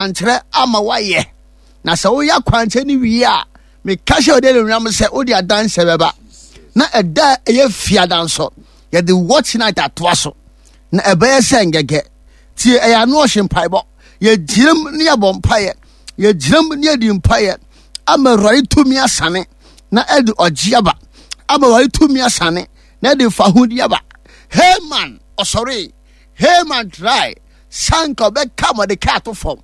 akwankyerɛ ama woayɛ. Na sɛ woyɛ akwankyerɛ no wie a, meka hyɛ ɔde anuonyam sɛ wode adanseɛ bɛba. Na ɛda a ɛyɛ fiada nso, yɛde watch night atoa so. Na ɛbɛyɛ sɛ ngɛgɛ. Tie, ɛyɛ ano ɔhye mpaebɔ. Yɛgyinam ne yɛbɔ mpaeɛ. Yɛgyinam ne yɛdi mpaeɛ ama Awurade tumi asane na ɛde ɔgye aba. Ama Awurade tumi asane na ɛde fahodi aba. Haman ɔsɔree. Haman try sanka ɔbɛka Mordecai ato fam.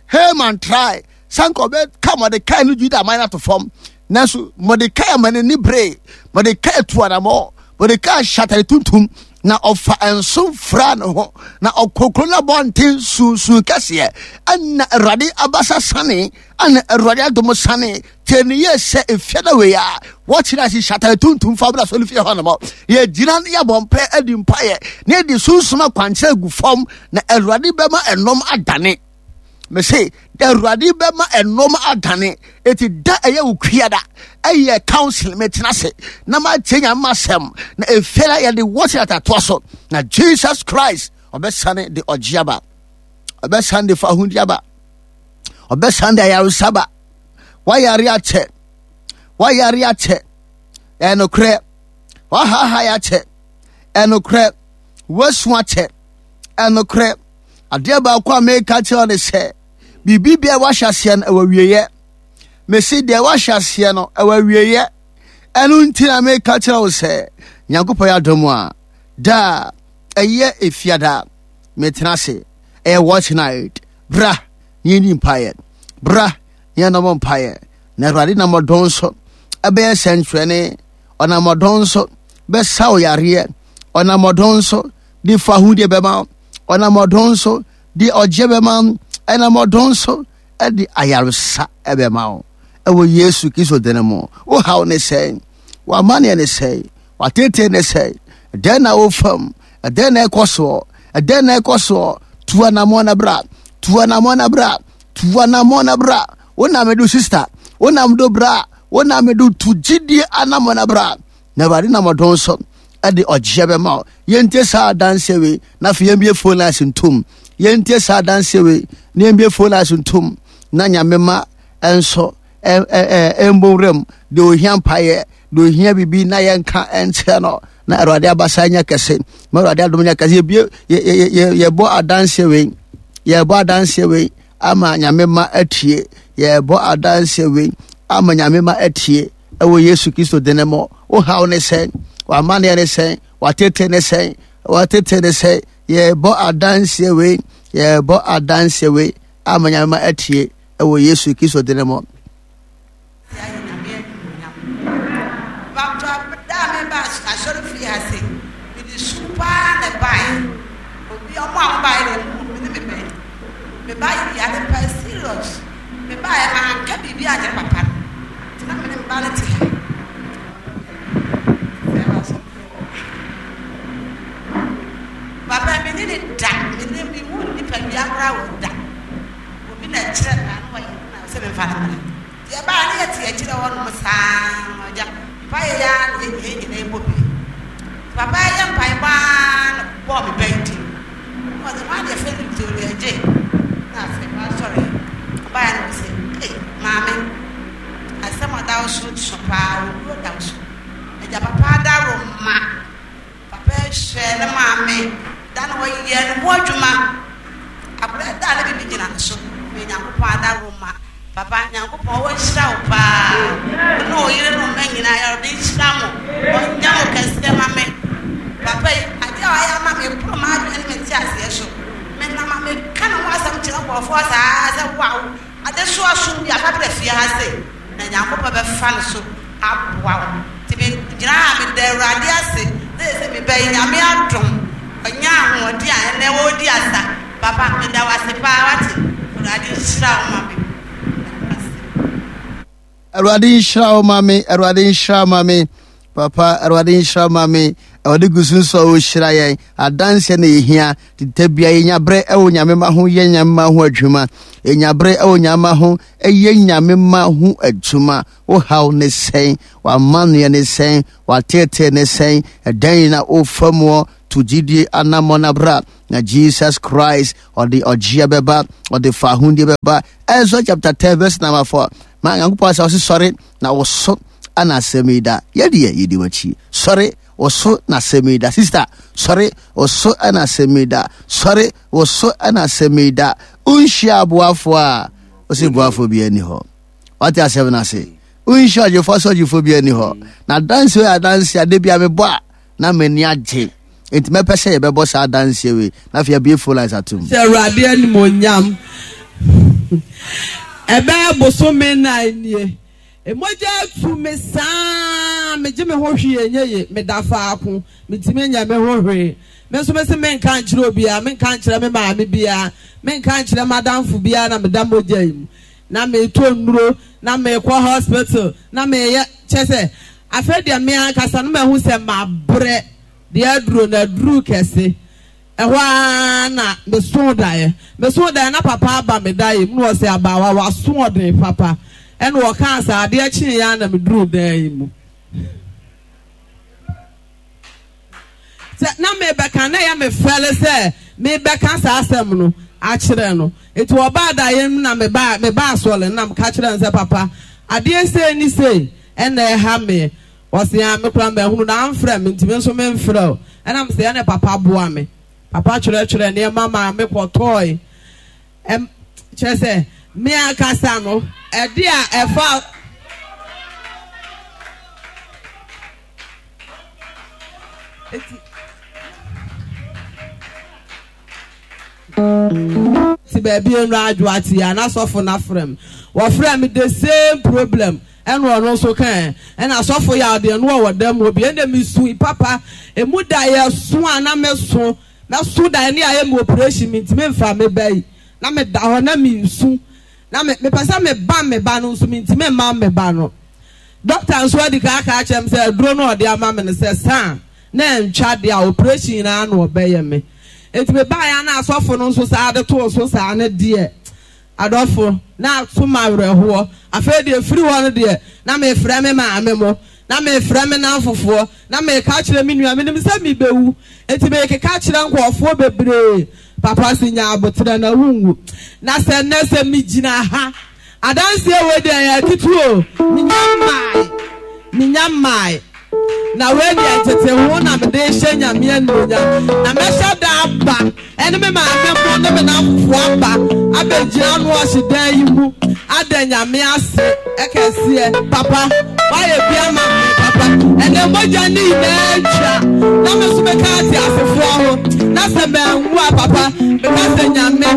Haman try sanka ɔbɛka Mordecai ne Juda man ato fam. Nanso Mordecai ama n'ani bere. Mordecai tu anamɔ. Mordecai hyɛ atade tuntum na ɔfa nso fura ne ho na ɔkɔ kuro no abɔnten sunsun kɛseɛ. Ɛna Awurade abasa sane, ɛna Awurade adom sane. Tie ne yie sɛ efie na wei a wɔkyerɛ ase hyɛ atade tuntum fa bra sɔre fie hɔ nom. Yɛgyina ne yɛbɔ mpaeɛ adi mpaeɛ na yɛde sunsum akwankyerɛ gu fam na Awurade bɛma ɛnom adane. Mese Awurade bɛma ɛnom adane. Eti da ɛyɛ wo kuada ɛyɛ council metena ase na matie Nyame masɛm na efie na yɛde wɔkyerɛ atatoa so na Jesus Christ ɔbɛsane de ɔgye aba, ɔbɛsane de fahudi aba, ɔbɛsane de ayaresa ba. Wayare akyɛ, wayare akyɛ, ɛnokorɛ, wahahae akyɛ, ɛnokorɛ, wasu akyɛ, ɛnokorɛ. Adeɛ baako a meka kyerɛ ne sɛ, biribi bia wahyɛ aseɛ no ɛwɔ awieɛ. Mesi deɛ wahyɛ aseɛ no ɛwɔ awieɛ. Ɛno nti na meka kyerɛ wo sɛ, Nyankopɔn yɛ adom a, da a ɛyɛ efiada metena ase, ɛyɛ watch night, bra na yɛnni mpaeɛ, bra na yɛnnɔmɔ mpaeɛ, na Awurade nam ɔdɔn so ɛbɛyɛ sɛnkyerɛnne, ɔnam ɔdɔn so bɛsa wo yareɛ, ɔnam ɔdɔn so de fa ahudeɛ bɛma wo, ɔnam ɔdɔn so de ɔgyeɛ bɛma wo, ɛnam ɔdɔn so de ayaresa ɛbɛma wo ɛwɔ Yesu Kristo din mu. Wo haw ne sɛn? W'amanneɛ ne sɛn? W'ateetee ne sɛn? Ɛdɛn na wofam? Ɛdɛn na ɛkɔ soɔ? Ɛdɛn na ɛkɔ soɔ? Tu anammɔn na bra. Tu anammɔn na bra. Tu anammɔn na bra. Wo na medo sista. Wo na medo bra. Wo na medo tu gyidie anammɔn na bra. Na Awurade nam ɔdɔn so ɛde ɔgyeɛ bɛma wo. Yɛntie saa adanseɛ wei na afei yɛmbie phone lines ntom. Yɛntie saa adanseɛ wei na yɛmbie phone lines ntom na Nyame ma ɛnso ɛmbɔ wuram deɛ ohia mpaeɛ deɛ ohia biribi na yɛnka nkyerɛ no na Awurade abasa nyɛ kɛse ma Awurade adom nyɛ kɛse. Yɛbie yɛbɔ adanseɛ wei, yɛbɔ adanseɛ wei ama Nyame ma atie, yɛbɔ adanseɛ wei ama Nyame ma atie ɛwɔ Yesu Kristo din mu. Wo haw ne sɛn? W'amanneɛ ne sɛn? W'atete ne sɛn? W'atete ne sɛn? Yɛbɔ adanseɛ wei, yɛbɔ adanseɛ wei ama Nyame ma atie ɛwɔ Yesu Kristo din mu. Papa me ne ne da me ne me hu nipa dua koraa wɔ da obi na ɛkyerɛ me ano wɔyɛ na sɛ memfa no mmra nti ɛbaa ne yɛte akyirɛ hɔ nom saa agya mpaeɛ yɛ ara na yɛn nyinaa ɛbɔ bi papa yɛ mpaebɔ ara na bɔɔ me bɛn din na ɔsɛ hwan deɛ fɛ no Victoria gye na afei wasɔre ɔbaeɛ na ɔsɛ ei maame asɛm ɔda wo so so paa owuo da wo so agya papa adaworo ma Papa yi hwɛɛ ne maame da na ɔyɛɛ ne ho adwuma. Akwadaa da a na biribi gyina ne so. May Nyankopɔn adaworoma. Papa, Nyankopɔn ɔnhyira wo paa. Wo ne wo yere ne wo mma nyinaa, Awurade nhyira mo. Ɔnyɛ mo kɛseɛ ma me. Papa yi, adeɛ a ɔayɛ ama me, ɛboro m'adwene ne me nteaseɛ so. Menam a meka ne ho asɛm kyerɛ nkurɔfoɔ saa sɛ, wow, adesoa som bi a fa bra fie ha sei, na Nyankopɔn bɛfa ne so aboa wo. Nti me gyina ha a meda Awurade ase na sɛ me ba yi Nyame adom ɔnya ahoɔden a ɛnɛ ɔredi asa. Papa meda wo ase paa wate. Awurade nhyira wo ma me. Meda wo ase. Awurade nhyira wo ma me. Awurade nhyira ma me. Papa Awurade nhyira ma me. Ɔde gu so nso a ɔrehyira yɛn. Adanseɛ na yɛhia. Da bia yɛnya berɛ ɛwɔ Nyame ma ho yɛ Nyame ma ho adwuma. Yɛnya berɛ ɛwɔ Nyame ma ho ɛyɛ Nyame ma ho adwuma. Wo haw ne sɛn? W'amanneɛ ne sɛn? W'ateetee ne sɛn? Ɛdɛn na wofa muɔ? To gyidie anammɔn na bra na Jesus Christ ɔde ɔgyeɛ bɛba, ɔde fahodie bɛba. Ezra chapter 10 verse number 4. Ma Nyankopɔn asɛ ɔse sɔre na wo so ana asɛm yi da. Yɛdeɛ yɛdi w'akyi. Sɔre wo so na asɛm yi da. Sister, sɔre wo so ana asɛm yi da. Sɔre wo so ana asɛm yi da. Wonhyia aboafoɔ a, ɔse boafoɔ bi ani hɔ. Wate asɛm no ase. Wonhyia ɔgyefoɔ sɛ ɔgyefoɔ bi ani hɔ. Na adanse wei adanse a da bi a mebɔ a na m'ani agye. Enti mɛpɛ sɛ yɛbɛbɔ saa adanseɛ wei na afei abue phone lines atom. Hyɛ Awurade animuonyam. Ɛbɛyɛ bosome nnan nie. Mogya atu me saa, megye me ho hwee ɛnyɛ ye, meda faako, mentumi nyɛ me ho hwee. Me nso mese menka nkyerɛ obiara, menka nkyerɛ me maame biara, menka nkyerɛ m'adamfo biara na meda mogya yi mu. Na metɔ nnuro, na mekɔ hospital, na meyɛ, kyerɛ sɛ, afei deɛ me ankasa no mahu sɛ mabrɛ, deɛ aduro no aduru kɛse. Ɛhɔ ara na mesoo daeɛ. Mesoo daeɛ na papa aba me daeɛ mu na ɔse abaawa w'asoɔden papa. Ɛna ɔkaa saa, adeɛ kyeeɛ ara na meduruu dan yi mu. Sɛ na mebɛka na ɛyɛ me fɛle sɛ mebɛka saa asɛm no akyerɛ no. Nti ɔbaa daeɛ mu na mebaa mebaa asɔre no na meka kyerɛɛ no sɛ papa adeɛ sei ne sei ɛna ɛha me. Ɔse aa me koraa mahunu na amfrɛ me nti me nso memfrɛ wo. Ɛna mese ɛne papa boa me. Papa kyerɛkyerɛ nneɛma maa me kɔtɔɔe. Ɛm kyerɛ sɛ me ankasa no ɛde a ɛfa Ti baabi nnura adwo ate a na sɔfo no afrɛ me. Wɔfrɛ me the same problem ɛna ɔno nso kae. Ɛna sɔfo yaw deɛ no ɔwɔ dɛm hɔ bi. Ɛna mesui papa. Emu da yɛ so a na meso. Mɛso da ɛne ayɛ me operation mentumi mfa me ba yi. Na meda hɔ na mesu. Na me mepɛ sɛ mebam me ba no nso mentumi mmam me ba no. Doctor nso adi kan aka akyerɛ me sɛ aduro no a ɔde ama me no sɛ saa na ɛntwa deɛ a operation nyinaa na ɔbɛyɛ me. Enti mebaeɛ a na asɔfo no nso saa de too so saa no deɛ adɔfo na ato me awerɛhoɔ. Afei deɛ ɛfiri hɔ no deɛ na mefrɛ me maame mo, na mefrɛ me nnamfofoɔ, na meka kyerɛ me nua, menim sɛ mebɛwu, enti mekeka kyerɛ nkurɔfoɔ bebree. Papa se nya aboterɛ na wonwu. Na sɛ nnɛ sɛ megyina ha adanseɛ wei deɛ ɛyɛ ketewa o, menya mmae, menya mmae. Na wei deɛ ntete ho na mede rehyɛ Nyame animuonyam. Na mɛhyɛ da aba ɛne me maame mo ne me namfofoɔ aba abɛgyina ano ɔhye dan yi mu ada Nyame ase kɛseɛ. Papa, woayɛ bi ama me papa. Ɛnɛ mogya ne nyinaa atwa na me nso meka ateasefoɔ ho. Na sɛ manwu a papa, meka sɛ Nyame.